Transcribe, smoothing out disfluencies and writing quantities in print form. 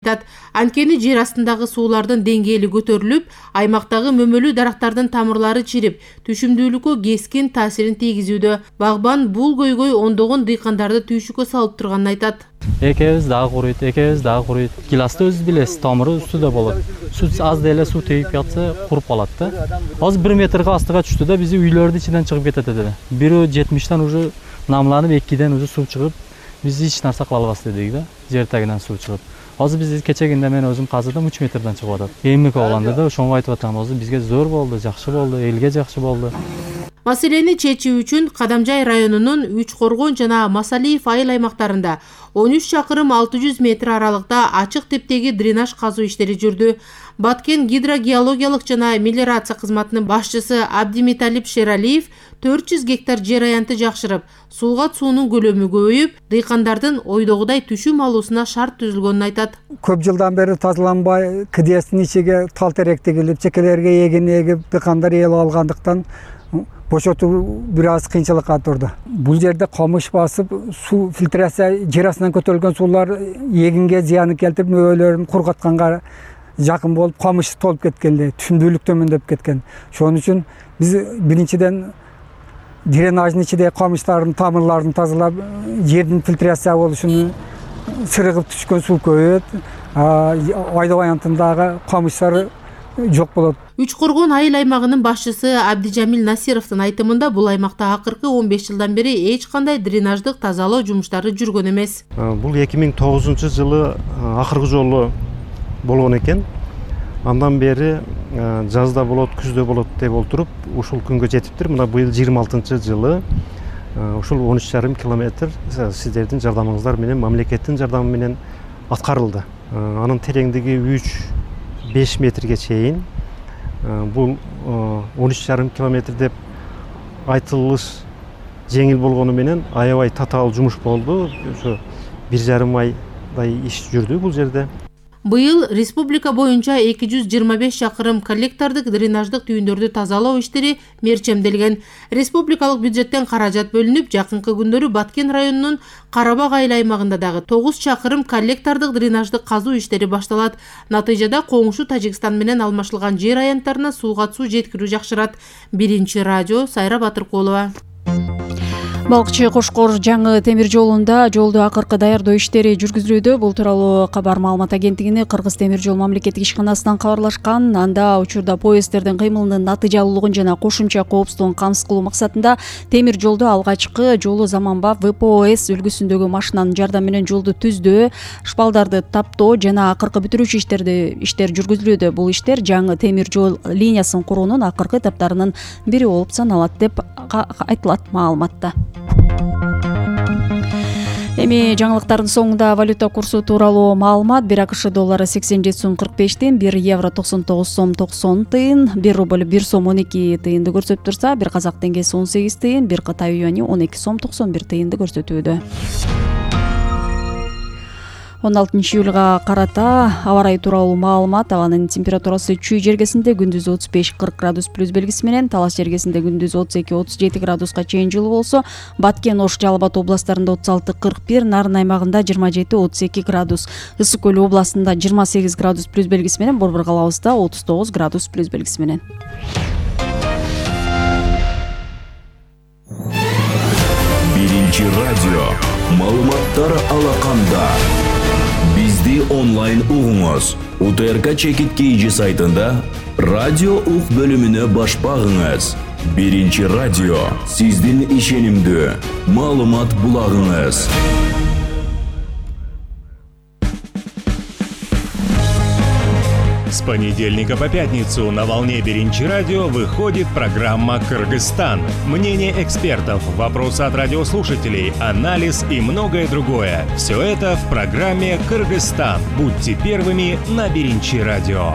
Анткени жер астындагы суулардын деңгээли көтөрүлүп, аймактагы мөмөлүү дарактардын тамырлары чирип, түшүмдүүлүккө кескин таасирин тийгизүүдө. Багбан бул көйгөй ондогон дыйкандарды түйшүккө салып турганын айтат. Экебиз дагы куруйт. Гиласты өзү билесиз, тамыры үстүдө болот. Суу аз деле суу тийип жатса, куруп калат да. Азыр 1 метрге астыга түштү да, биздин үйлөрдүн ичинен чыгып кетет эле. Бирөө 70тен уже намланып, 2ден уже суу чыгып, биз эч нерсе кыла албас дедик да, жер тагынан суу чыгып. Азыр биз кечегинде мен өзүм казыдым 3 метрден чыгып атат. Эмне кылганда да ошону айтып атам, азыр бизге зор болду, жакшы болду, элге жакшы болду. Маселени чечүү үчүн Кадамжай районунун Үч Коргон жана Масалиев айыл аймактарында 13 чакырым 600 метр аралыкта ачык типтеги дренаж казуу иштери жүрдү. Баткен гидрогеологиялык жана мелиорация кызматынын башчысы Абдимиталип Шералиев 400 гектар жер аянты жакшырып, суулгат суунун көлөмү көбөйүп, дыйкандардын ойдогудай түшүм алуусуна шарт түзүлгөнүн айтат. Көп жылдан бери тазаланбай, кыдыясынын ичиге тал терек тигилип, чекелерге эгин эгип, дыйкандар эл алгандыктан бошотуу бир аз кыйынчылыкка турду. Бул жерде камыш басып, суу фильтрация жер астынан көтөрүлгөн суулар эгинге зыянын келтирип, мөөлөрүн кургатканга жакын болуп, камыш толуп кеткенде, түшүмдүүлүк төмөндөп кеткен. Ошон үчүн биз биринчиден дренаждын ичиде камыштардын тамырларын тазалап, жердин фильтрация болушуну, сырыгып түшкөн суу көбөйөт, айдоо аянтындагы камыштар жок болот. Үч Коргон айыл аймагынын башчысы Абдижамил Насировдун айтымында бул аймакта акыркы 15 жылдан бери эч кандай дренаждык тазалоо жумуштары жүргөн эмес. Бул 2009-жылы акыркы жолу болгон экен. Андан бери жазда болот, күздө болот деп отуруп, ушул күнгө жетиптир. Мына быйыл 26-жылы ушул 13,5 километр сиздердин жардамыңыздар менен, мамлекеттин жардамы менен аткарылды. Анын тереңдиги 3-5 метрге чейин. Бул 13,5 километр деп айтылыш жеңил болгону менен аябай татаал жумуш болду. Ошо 1,5 айдай иш жүрдү бул жерде. Быйыл республика боюнча 225 чакырым коллектордук дренаждык түйүндөрдү тазалоо иштери мерчемделген. Республикалык бюджеттен каражат бөлүнүп, жакынкы күндөрү Баткен районунун Карабак айыл аймагында дагы 9 чакырым коллектордук дренаждык казуу иштери башталат. Натыйжада коңшу Тажикстан менен алмашылган жер аянттарына сууга суу жеткирүү жакшырат. Биринчи радио Сайра Батыркулова. Балкчы Кошкор жаңы темир жолунда жолду акыркы даярдоо иштери жүргүзүлүүдө. Бул тууралуу Кабар маалымат агенттигине Кыргыз темир жол мамлекеттик ишканасынан кабарлашкан. Анда учурда поезддердин кыймылынын натыйжалуулугун жана кошумча коопсуздугун камсыз кылуу максатында темир жолдо алгачкы жолу заманбап ВПОС үлгүсүндөгү машинанын жардамы менен жолду түздөө, шпалдарды таптоо жана акыркы бүтүрүүчү иштер жүргүзүлүүдө. Бул иштер жаңы темир жол линиясын куруунун акыркы этаптарынын бири болуп саналат деп айтылат маалыматта. Эми жаңылыктардын соңунда валюта курсу тууралуу маалымат. 1 АКШ доллары 87 сом 45 тыйын, 1 евро 99 сом 90 тыйын, 1 рубль 1 сом 12 тыйынды көрсөтүп турса, 1 казак теңгеси 18 тыйын, 1 Кытай юани 12 сом 91 тыйынды көрсөтүүдө. 16 июлга карата аба ырайы тууралуу маалымат. Абанын температурасы Чүй жергесинде күндүз 35-40 градус плюс белгиси менен, Талас жергесинде күндүз 32-37 градуска чейин жылуу болсо, Баткен, Ош, Жалал Абад областарында 36-41, Нарын аймагында 27-32 градус, Ысык Көл областында 28 градус плюс белгиси менен, Борбор калабызда 39 градус плюс белгиси менен. Биринчи радио маалыматтар алаканда. Бизди онлайн угуңуз. УТРК чекит KG сайтында радио ук бөлүмүнө баш багыңыз. Биринчи радио сиздин ишенимдүү маалымат булагыңыз. С понедельника по пятницу на волне Биринчи радио выходит программа «Кыргызстан». Мнение экспертов, вопросы от радиослушателей, анализ и многое другое. Все это в программе «Кыргызстан». Будьте первыми на Биринчи радио.